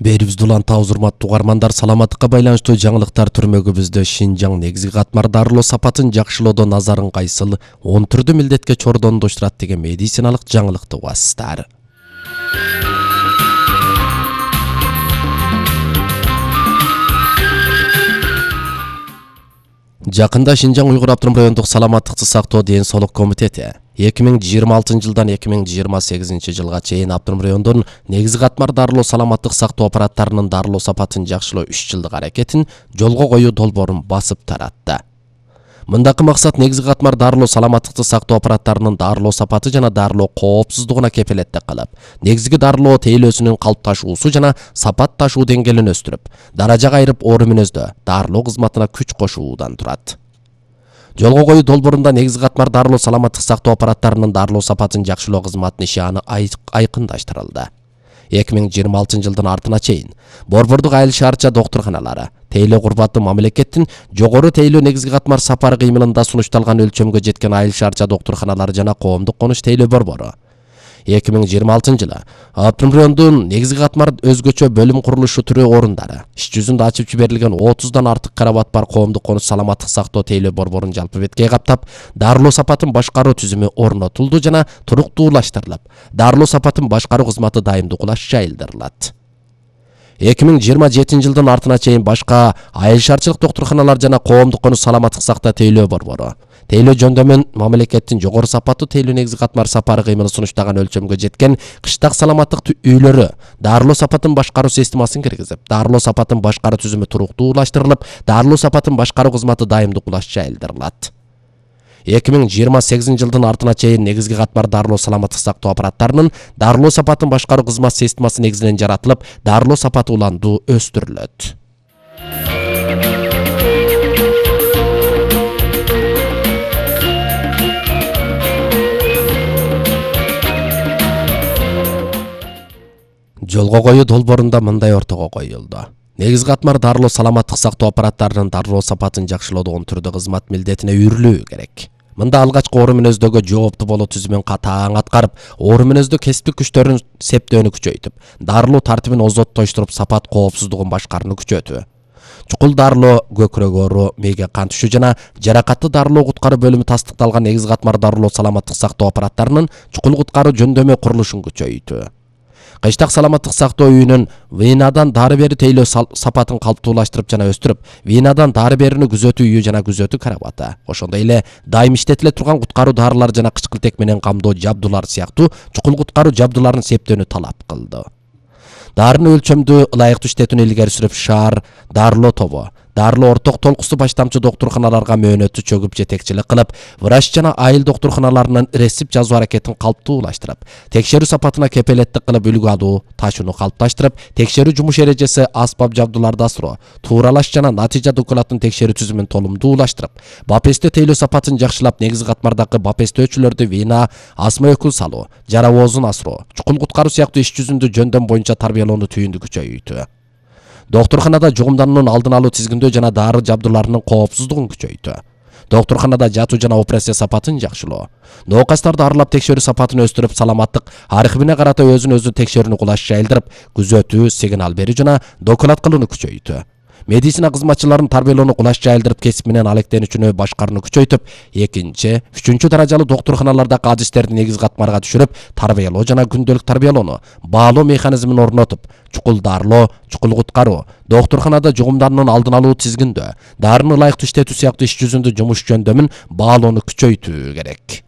Берибизди уланта урматтуу угармандар, саламаттыкка байланыштуу жаңылыктар түрмөгүбүздө Шинжаң негизги катмар дарылоо сапатын жакшылоодо назарын кайсыл 10 түрдүү милдетке чордондуштурат деген медициналык жаңылыкты угасыздар. Жакында Шинжаң Уйгур автоном райондук саламаттыкты сактоо ден соолук комитети 2026 жылдан 2028 жылга чейин автоном райондун негизги катмар дарылоо саламаттык сактоо аппараттарынын дарылоо сапатын жакшылоо 3 жылдык аракетин жолго коюу долбоорун басып таратты. Мындакы максат негизги катмар дарылоо саламаттыкты сактоо аппараттарынын дарылоо сапаты жана дарылоо коопсуздугуна кепилеттик кылып, негизги дарылоо тейлөөсүнүн калыпташуусу жана сапат ташуу деңгээлин өстүрүп, даража кайрып оор мүнөздө дарылоо кызматына күч кошуудан турат. Жолго коюу долбоорунда негизги катмар дарылоо саламаттык сактоо аппараттарынын дарылоо сапатын жакшылоо кызматынын иши айкындаштырылды. 2026 жылдын артына чейин Борбордук айыл шаарча доктурканалары тейлөө курбаты мамлекеттин жогору тейлөө негизги катмар сапар кыймылында сунушталган өлчөмгө жеткен айыл шаарча доктурканалары жана коомдук конуш тейлөө борбору 2026 жылы автоном райондун негизги катмар өзгөчө бөлүм курулушу түрү орундары иш жүзүндө ачып жиберилген 30дан артык карабат бар коомдук конуш саламаттык сактоо тейлөө борборун жалпы беткей каптап, дарылоо сапатын башкаруу түзүмү орнотулду жана туруктуулаштырылып, дарылоо сапатын башкаруу кызматы дайымдуулаш жайылдырылат. 2027 жылдын артына чейин башка айыл шаарчылык доктурканалар жана коомдук конуш саламаттык сактоо тейлөө борбору тейлөө жөндөмүн мамлекеттин жогору сапаттуу тейлөө негизги катмар сапары кыймылы сунуштаган өлчөмгө жеткен кыштак саламаттык үйлөрү дарылоо сапатын башкаруу системасын киргизип, дарылоо сапатын башкаруу түзүмү туруктуулаштырылып, дарылоо сапатын башкаруу кызматы дайымдуулаш жайылдырылат. 2028 жылдын артына чейин негизги катмар дарылоо саламаттык сактоо аппараттарынын дарылоо сапатын башкаруу кызмат системасы негизинен жаратылып, дарылоо сапаты уланду өстүрүлөт. Жолго коюу долбоорунда мындай ортого коюлду. Негизги катмар дарылоо саламаттык сактоо аппараттарынын дарылоо сапатын жакшылоодо 10 түрдүү кызмат милдетине үйрүлүү керек. Мында алгачкы оору мүнөздөгө жооптуу болуу түзүмүн катаң аткарып, оору мүнөздө кесиптик күчтөрүн септөөнү күчөйтүп, дарылоо тартибин озоттоштуруп, сапат коопсуздугун башкарууну күчөтүү. Чукул дарылоо, көкүрөк оору, мээге кан түшүү жана жаракатты дарылоо куткаруу бөлүмү тастыкталган негизги катмар дарылоо саламаттык сактоо аппараттарынын чукул куткаруу жөндөмү курулушун күчөйтүү. Кыштак саламаттык сактоо үйүнүн венадан дары бери тейлөө сапатын калыптуулаштырып жана өстүрүп, венадан дары берүүнү күзөтүү үйү жана күзөтүү карабаты, ошондой эле дайым иштетиле турган куткаруу дарылар жана кычкылтек менен камдоо жабдуулар сыяктуу чукул куткаруу жабдууларын септөөнү талап кылды. Дарыны өлчөмдүү ылайыктуу иштетүүнү илгери сүрүп, шаар дарылоо тобу дарылоо орток толкусу баштамчы доктурканаларга мөөнөттүү чөгүп жетекчилик кылып, врач жана айыл доктурканаларынын рецепт жазуу аракетин калыптуулаштырып, текшерүү сапатына кепилеттик кылып, үлгү алуу ташууну калыпташтырып, текшерүү жумуш эрежеси, аспап жабдууларды асыроо, тууралаш жана натыйжа документын текшерүү түзүмүн толумдуулаштырып, бапестөө тейлөө сапатын жакшылап, негизги катмардагы бапестөөчүлөрдү вена, астма өкүл салуу, жарабоозун асыроо, чукул куткаруу сыяктуу иш жүзүндө жөндөм боюнча тарбиялоону түйүндү күчөйтүү. Доктурканада жугумдануунун алдын алуу тизгиндөө жана дары жабдууларынын коопсуздугун күчөйтүү. Доктурканада жатуу жана операция сапатын жакшылоо. Ноокастарды аралап текшерүү сапатын өстүрүп, саламаттык архивине карата өзүн текшерүүнү кулаш жайылдырып, күзөтүү, сигнал берүү жана доклад кылууну күчөйтүү. Медицина кызматчыларын тарбиялоону кулаш жайылдырып, кесип менен алектенүүчүнү башкарууну күчөйтүп, 2, 3 даражалуу доктурканалардагы адистерди негизги катмарга түшүрүп, тарбиялоо жана күндөлүк тарбиялоону баалоо механизмин орнотуп, чукул дарылоо, чукул куткаруу, доктурканада жугумдануунун алдын алуу тизгиндөө, дарыны ылайыктуу иштетүү сыяктуу иш жүзүндө жумуш жөндөмүн баалоону күчөйтүү керек.